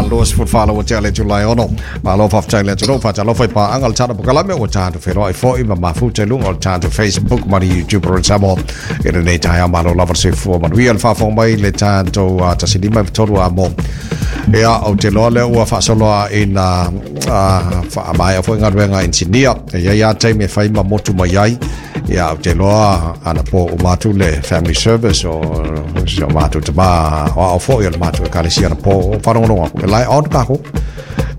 24 ua tea le Julai 6. Malo faafetai le atunuu, faatalofa i paaga o le tatou polokalame ua tatou feiloai foi ma mafuta i luga o le tatou Facebook ma le YouTube o Samoa i lenei taeao. Malo lava le soifua manuia le faafofoga mai le tatou 153 a mo. Ia, ou te iloa lea ua faasolo ina faamaea foi galuega inisinia. E i ai lava taimi e fai ma motu mai ai. Ia, ou te iloa anapo uma atu le family service o si o matou tama o ao foi o le matou ekalesia anapo o faalogologo atu. E la e on kākou.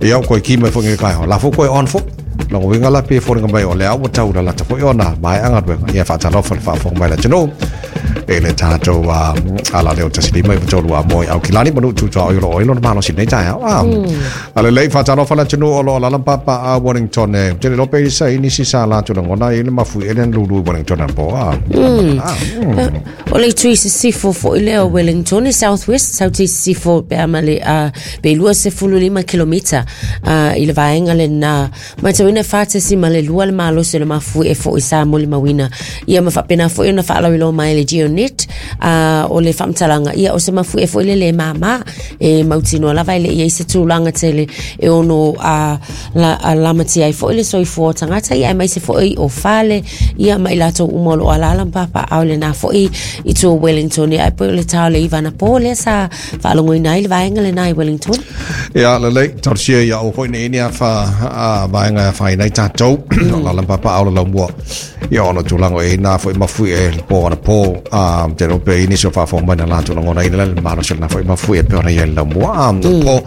Ia, o koe ki mai foi nge kai ho. La fo koe on fo. Lona uiga la pei e foliga mai o lea ua tau lalata foi ona maea galuega. Ia, faatalofa le faafofoga mai le atunuu i le tatou ala leo 153 a moe Aukilani ma nuu tu tuaoi o lo o i lona malosi i lenei taeao. A lelei, faatalofa le atunuu o lo o alaala ma papaaao Wellington e. Ou te le iloa pe i sa i nisi sa latou lagona i le mafuie lea na lulu i Wellington anapo. O le itu i sisifo foi lea o Wellington i South West, South i sisifo pe a ma le pe 25 kilomita i le vaega lena. Matauina 4.2 le malosi o le mafuie foi sa molimauina. Ia ma faapena foi ona faalauiloa mai le Geonet o le faamatalaga ia o se mafuie foi le le māmā e mautinoa lava e le i ai se tulaga tele e ono lamatia ai foi le soifua o tagata ia aemaise foi o fale ia ma i latou uma o lo o alaala ma papaaao i lena foi itu o Wellington. Ia ae pei o le ta o le 9 anapo lea sa faalogoina ai le vaega lena i Wellington. Ia, lelei, talosia ia aua foi ne i ni afa vaega e afaina ai tatou, o alaala ma papaaao le laumua. Ia ona o tulaga o i ai nā foi mafuie i le pō anapo, te iloa pe i ai nisi o faafofoga mai na latou lagonaina le malosi o lena foi mafuie e pei ona i ai le laumua. Po,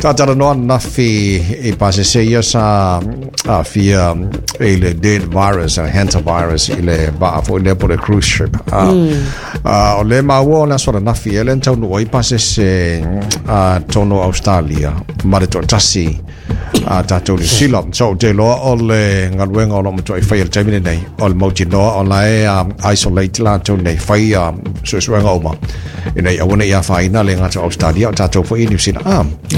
talatalanoa ananafi i pasese ia sa aafia i le dead virus, hantavirus i le vaa foi lea po o le cruise ship. O lea e maua o le aso ananafi ea lea na taunuu ai pasese totonu o Australia ma le toatasi a tatou Niu Sila. So, ou te iloa o le galuega o lo o matuai faia i le taimi lenei, o le mautinoa o la e isolate latou nei, fai suesuega uma, ina ia aua ne i afaina le gata o Australia, o tatou foi i Niu Sila.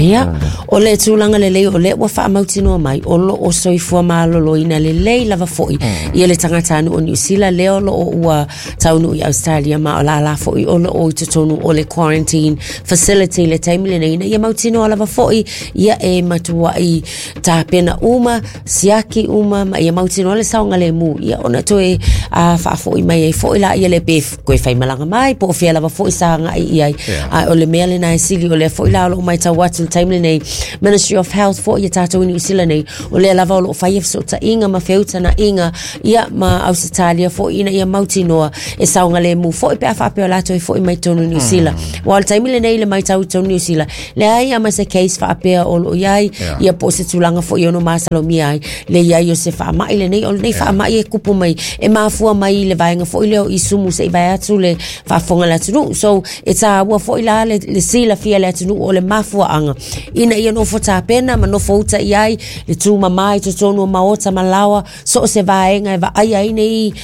Ia, o le tulaga lelei o lea ua faamautinoa mai, o lo o soifua maloloina lelei lava foi ia le tagatanuu o Niu Sila lea o lo o ua taunuu i Australia ma o lala foi o lo o i totonu o le quarantine facility i le taimi lenei ina ia mautinoa lava foi ia e matuai tapena uma, siaki uma ma ia mautinoa le saogalemu ia ona toe faafoi mai ai foi la ia le pe koe faimalaga mai po o fea lava foi sa agai i ai. A o le mea lena e sili o lea foi la o lo o matau atu i le taimi lenei Ministry of Health foi ia tatou i Niu Sila nei o lea lava o lo o fai ia fesootaiga ma feutagaiga ia ma Ausetalia foi ina ia mautinoa e saogalemu foi pe a faapea o latou e foi mai totonu i Niu Sila. Aua o le taimi lenei i le matau i totonu i Niu Sila, leai lava ma se case faapea o lo o i ai, ia po o se tulaga foi e ono masalomia ai le i ai o se faamai lenei. O lenei faamai e kupu mai, e mafua mai i le vaega foi lea o isumu se i vae atu le faafofoga a le atunuu. So, e taua foi la le silafia e le atunuu o le mafuaaga ina ia nofo tapena ma nofo uta i ai le tumama i totonu o maota ma laoa so o se vaega e vaaia ai nei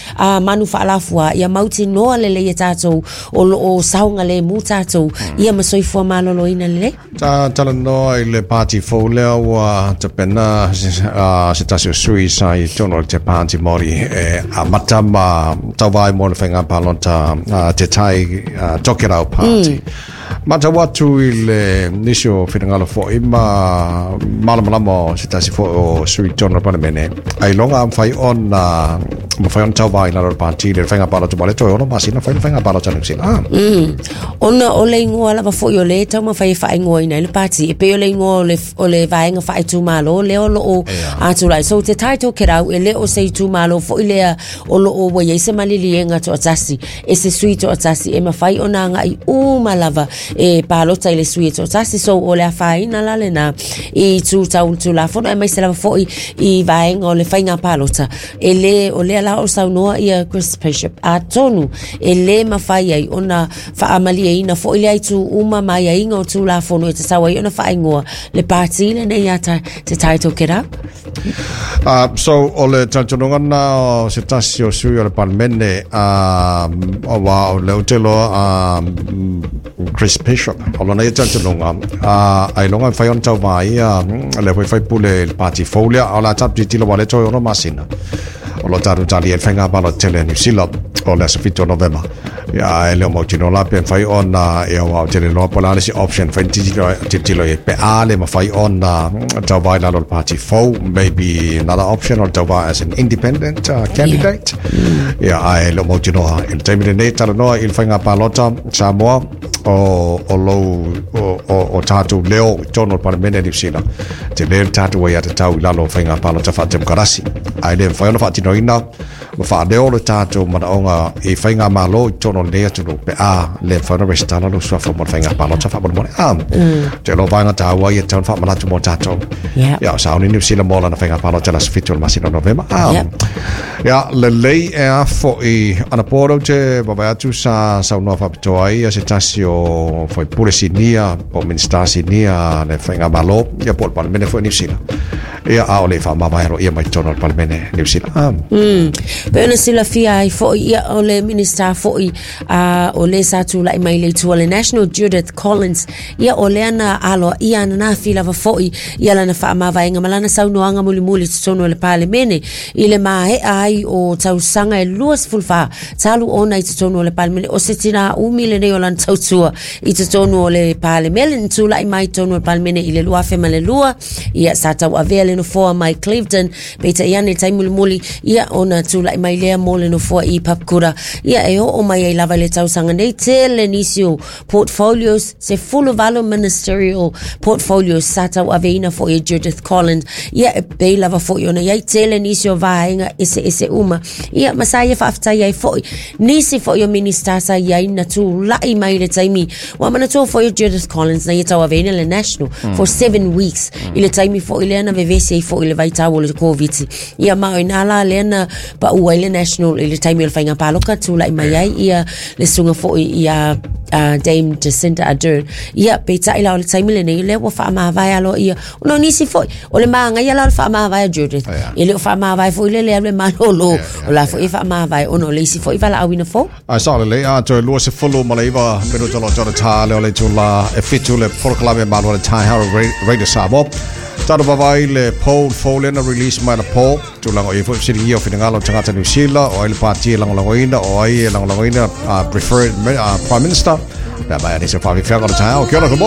manu faalafua ia mautinoa lelei e tatou o lo o saogalemu tatou ia ma soifua maloloina lelei. Ta talanoa i le pāti fou lea ua tapena se tasi o sui sa i totonu o le te Pāti Māori e amata ma tauva ai mo le faiga palota Te Tai Tokerau Party. Matau atu i le nisi o finagalo foi ma malamalama o se tasi foi o sui totonu o le Palemene, ailoga a mafai ona mafai ona tauva i lalo o le pāti i le faiga palota ma le toe 6 masina fai le faiga palota a Niu Sila. Ona o le igoa lava foi o lea e taumafai e faaigoaina ai le pāti, e pei o le igoa o le vaega faaitumalo lea o lo o atulai. So Te Tai Tokerau e le o se itumalo foi lea o lo o ua i ai se maliliega toatasi e se sui toatasi e mafai ona agai uma lava e palota i le sui e toatasi. So o le afaina la lena i itu tau Tulafono aemaise lava foi i vaega o le faiga palota. E le, o lea la o saunoa ia Chris Bishop, atonu e le mafai ai ona faamalieina foi lea itu uma ma aiaiga o Tulafono e tatau ai ona faaigoa le pāti lenei a Te Tai Tokerau. So, o le talitonuga lena o se tasi o sui o le Palemene, aua o lea ou te iloa Chris Bishop, o lona ia talitonuga, ailoga e mafai ona tauva ai le foi faipule i le pāti fou lea, a o le a tatou tilotilo aua o lea e toe 6 masina o lo o tatou talia ai le faiga palota tele a Niu Sila o le aso 7 o Novema. Ia, e le o mautinoa la pe mafai ona e aua ou te le iloa po o le a le isi option e mafai ona tilotilo i ai pe a le mafai ona tauva i lalo o le pati fou, maybe another option o le tauva as an independent candidate. Ia, ae le o mautinoa i le taimi lenei. Talanoa i le faiga palota Samoa o lou o tatou leo i totonu o le Palemene a Niu Sila. Tele le tatou aiatatau i lalo o faiga palota faatemokarasi, ae le mafai ona faatinoina ma faaleo le tatou manaoga i faigamalo i totonu o lenei atunuu pe a le mafai ona resitala lou suafa mo le faiga palota faamolemole. A, te iloa vaega taua ia e tatau ona faamanatu mo tatou. Ia, o sauni Niu Sila mo lana faiga palota i le aso 7 o le masina o Novema. A, ia, lelei e a fo'i anapo lea ou te vaavaai atu sa saunoa faapitoa ai se tasi o faipule sinia po o Minisita sinia a le faigamalo, ia po o le Palemene foi o Niu Sila. Ia, a o le i faamavae aloaia mai totonu o le Palemene Niu Sila. Ah. Pei ona silafia ai foi, ia, o le Minisita foi o le sa tulai mai le itu o le National, Judith Collins, ia, o lea na aloaia ananafi lava foi ia lana faamavaega ma lana saunoaga mulimuli i totonu o le Palemene i le maea ai o tausaga e 24 talu ona i totonu o le Palemene. O se tinā umi lenei o lana tautua i totonu o le Palemene, na tulai mai i totonu o le Palemene i le 2002, ia sa tauavea le nofoa mai Clevedon, peitai ane i le taimi mulimuli, ia ona tulai mai lea mo le nofoa i Papakura, ia e oo mai ai lava i le tausaga nei, tele nisi o portfolios, 18 ministerial portfolios sa tauaveina foi e Judith Collins, ia e pei lava foi ona i ai tele nisi o vaega eseese uma, ia ma sa ia faafetai ai foi nisi foi o Minista sa i ai na tulai mai i le taimi ua manatua foi o Judith Collins na ia tauaveina le National for 7 weeks i le taimi foi lea na vevesi ai foi le vaitau o le Koviti, ia ma o ina la lea na pau ai le National i le taimi o le faiga paloka, tulai mai ai ia le susuga foi ia Dame Jacinda Ardern. Ia peitai la o le taimi lenei lea ua faamavae aloaia ona o nisi foi o le magaia la o le faamavae a Judith, e le o faamavae foi le le alu e malolo, o la foi e faamavae ona o le isi foi valaauina fou. Ai sao lelei, a toe 29 minuta lo tona tā leo le tula e 7 le polokalame malo le tai haro Radio Samoa. Tatou vaavaai le poll fou lea na release mai le poll. Tulaga o ia foi fesiligia o finagalo o tagata Niu Sila, o ai le pati e lagolagoina, o ai e lagolagoina preferred Prime Minister. Pe a mai anise whawhiwhianga o le taeao. Kia ora, good morning.